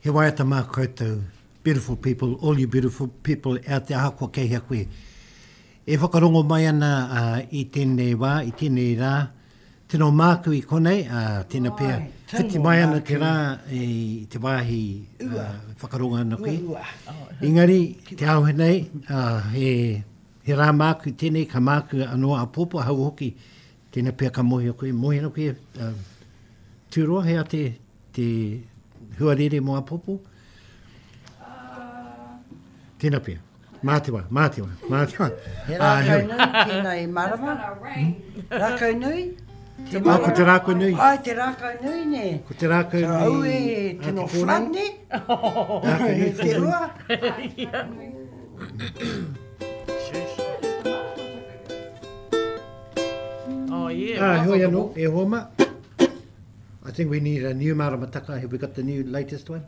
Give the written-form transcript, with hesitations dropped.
He waiata mā koutou, beautiful people, all you beautiful people out there, ahakoa kei hea koe. E whakarongo mai ana uh, i tēnei wā, i tēnei rā, tino māku i konei, uh, tēnā pea, whiti mai ana te rā i te wāhi uh, whakarongo ana koe. Engari, te ao nei, uh, he, he rā māku tēnei, ka māku anō āpōpō, hau hoki, tēnā pea ka mōhio koe, mōhio ana koe, uh, Tūroa, he a te, te huarere mō apopo? Tēnā pea. Mā te wā, mā te wā, mā te wā. He rākau nui tēnā i marama. Rākau nui? Te marama. Ah, ko te rākau nui. Ai, te rākau nui, nē. Ko te rākau nui. Au e, tino flood, nē? Rākau nui. Te rua. Oh, yeah. Ah, heoi anō, e hoa ma. I think we need a new maramataka. Have we got the new latest one?